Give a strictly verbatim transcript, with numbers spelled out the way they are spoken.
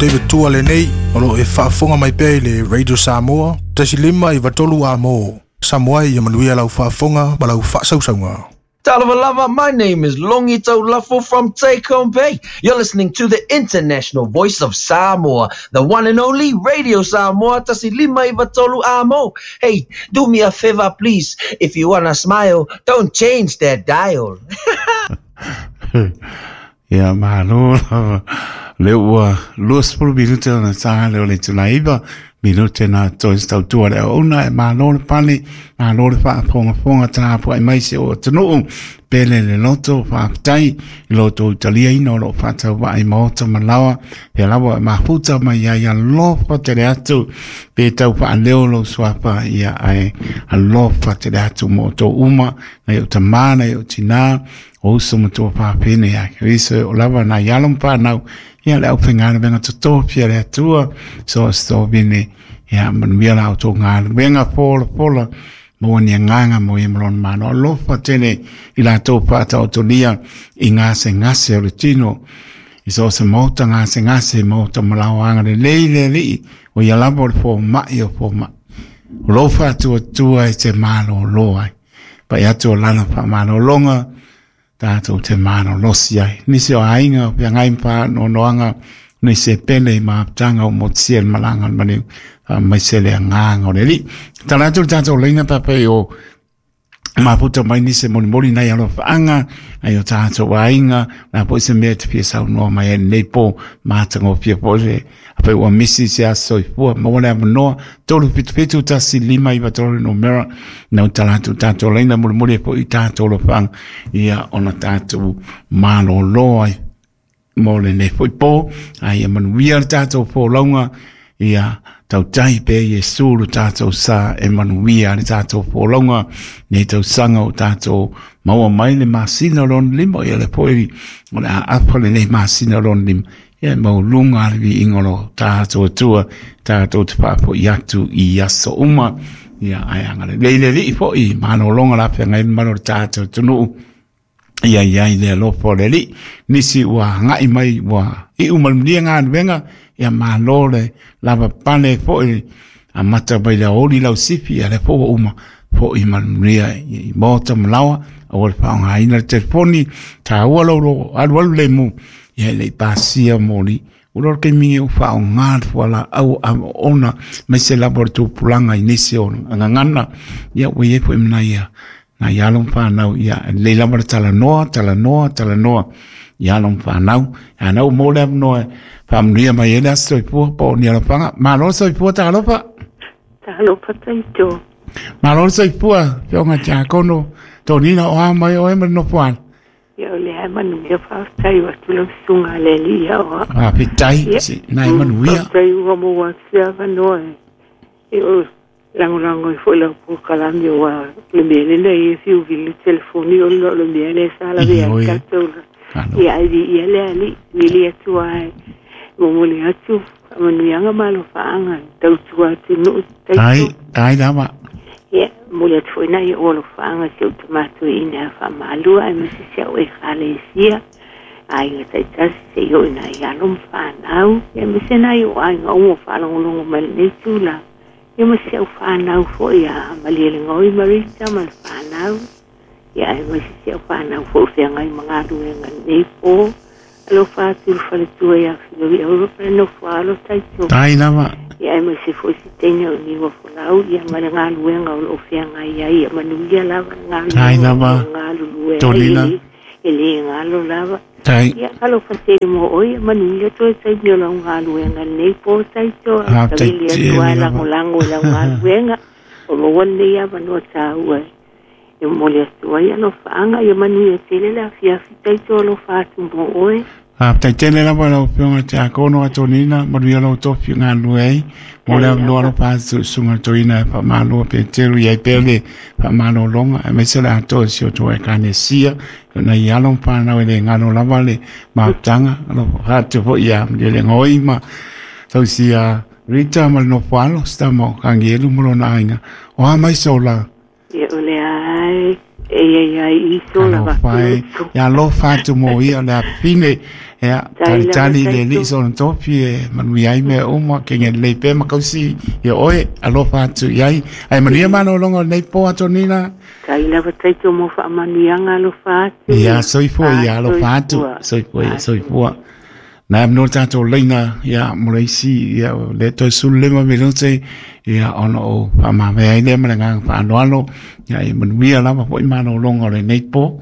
David Tua lenei, o lo e faafofoga mai pea i le Radio Samoa, tasi lima iva tolu amo. Samoa ia manuia lau faafofoga ma lau faasausauga. Talofa my name is Longi Taulafo from Take Home Bay. You're listening to the international voice of Samoa, the one and only Radio Samoa, tasi lima iva tolu amo. Hey, do me a favor, please. If you wanna smile, don't change that dial. Ia malo lava le ua luasefulu minute ona sa le o le tulaiva minute na toe tautua le auauna e malo le pale malo le faafogafoga tapuai mai se o atunuu pele le loto faafetai i lo outou taliaina o loo faatauvaai maota ma laoa pea lava e mafuta mai ai alofa tele atu pe tau faaleo lou suafa ia ae alofa tele atu mo outou uma nai o tamā nai o tinā o uso ma tua fafine ia Keriso o lava nai alo ma whanau ia le au whengaluenga totofia le atua so so vine ia manuia la o galuega pola pola mo ni nganga mo i malona mano alofa tele i la tō whaataotolia i ngā se ngase o le tino i so se mauta ngā se ngase mauta malauanga le lei le lii o ia lava o le fō mai o fō mai o lofa atua tua i te malo loa pa i atu o lana wha malo longa tātou te māno losi ai. Nisi o ainga o pia ngai mpa no noanga ni se pele i maaptanga o motsia le malanga le maniu mai se le anganga o le li. Tala atu le tātou leina pape o maputa mai nisi moli moli nei alo whaanga ai o tātou ainga nā po se mea te pia sau noa mai e nei po mātanga o pia po se ape ua misi se aso i fua ma wale amanoa tolu pitu pitu tasi lima iwa tolu no mera nau tala atu tātou leina moli moli e po i tātou lo whaanga ia ona tātou malo loa mo le nei foi po ai e manuia le tātou pō launga ia tautai pe Iesu lo tātou sa e manuia le tātou pōlaunga nei tausanga o tātou maua mai le masina o lona lima ia le poe o le aapa le nei masina o lona lima ia mau lunga le viiga o lo tātou atua tātou te faafo'i atu i aso uma ia ae agalelei le alii fo'i malologa la feagai ma malo le tātou atunuu ia ia i le alofa o le alii nisi ua agai mai ua iu malumalia galuega ia malo le lava pale fo'i amata mai le aoauli lausifi ia le fo'u ua uma fo'i malumalia i maota ma laoa aua le faaaogaina le telefoni taua lou lo alualu lemu ia e le'i pasia moli ua le taimi o faaaogā le fualaau ona mai se lava o le tupulaga i nisi o agagana ia ua iai fo'i ma nai nai alo ma whanau ia lei lava le talanoa talanoa talanoa ia alo ma whanau anau mo le amanoa faamanuia mai ai le aso soifua po o ni alofaga malo le soifua talofa talofa taito malo le soifua fioga tiakono tonina o a mai oe ma le nofoana ia o le ai manuia faafetai atu lau susuga le alii ia oa faafetai nai manuia faafetai ua maua atu se avanoa e o lagolago ai foi lau polokalame ua le mea lenei e fiuvili le telefoni o le le mea lea sa lavea ai tatou ia ai viia le alii vili atu ai momoli atu faamanuiaga ma alofaaga tautua atunuu tai tai lava ia momoli atu foi nai ou alofaaga si ou tamatoeina faamalua aemaise si au ekalesia aiga taitasi seia oo i nai alo ma fanau aemaise nai ou aiga uma o faalogologo mai lenei tulaga ia ma si au fanau foi a Malielegaoi Marita ma le fanau ia aemaise si au fanau foi o feagai ma galuega lenei po alofa atu le faletua ia Filovi Europa le nofo alo taito tai lava ia aemaise foi si teine o niua folau ia ma le galuega o loo feagai ai ia manuia lava le galuega tai lava galulue Tonina ai e lē galo lava tai ia alofa tele mo oe ia manuia toe taimi o lau galuega lenei po taito faafetai tavili atu tele ai lava lagolago i lau galuega o maua lenei avanoa taua e momoli atu ai alofaaga ia manuia tele le afiafi taito alofa atu mo oe Faafetai tele lava lau afioga i le tiakono a Tonina manuia lou tofi galulue ai mo le tai avanoa lava alofa atu i susuga toeaina e faamalo Peteru i ai pea le faamalologa aemaise o le atoa i si o outou ekalesia nai alo ma fanau e le galo lava le mafutaga alofa atu foi ia Malielegaoi ma tausia Rita ma le nofo alo sitama o Kagielu ma lona aiga o a mai sola ia o le ai e ia ia i sola alofa e vakutu ia alofa atu mo ia le afine Ia, Tai tali lava tali le taito. Li so na tofi e manuia ai mea uma ke nge lelei pea ma kausi ia oe alofa atu i ai. Ae manuia malologa o lenei po Atonina. Tai lava taito mo faamanuiaga alofa atu. Ia soifua ia alofa atu. Soifua. Soifua ia soifua. Na am no tātou leina ia mo le isi ia le toe sulu lima minute ia ona o whaamawea ai lea ma le nganga whaanoalo ia e manuia lava foi malologa o lenei po.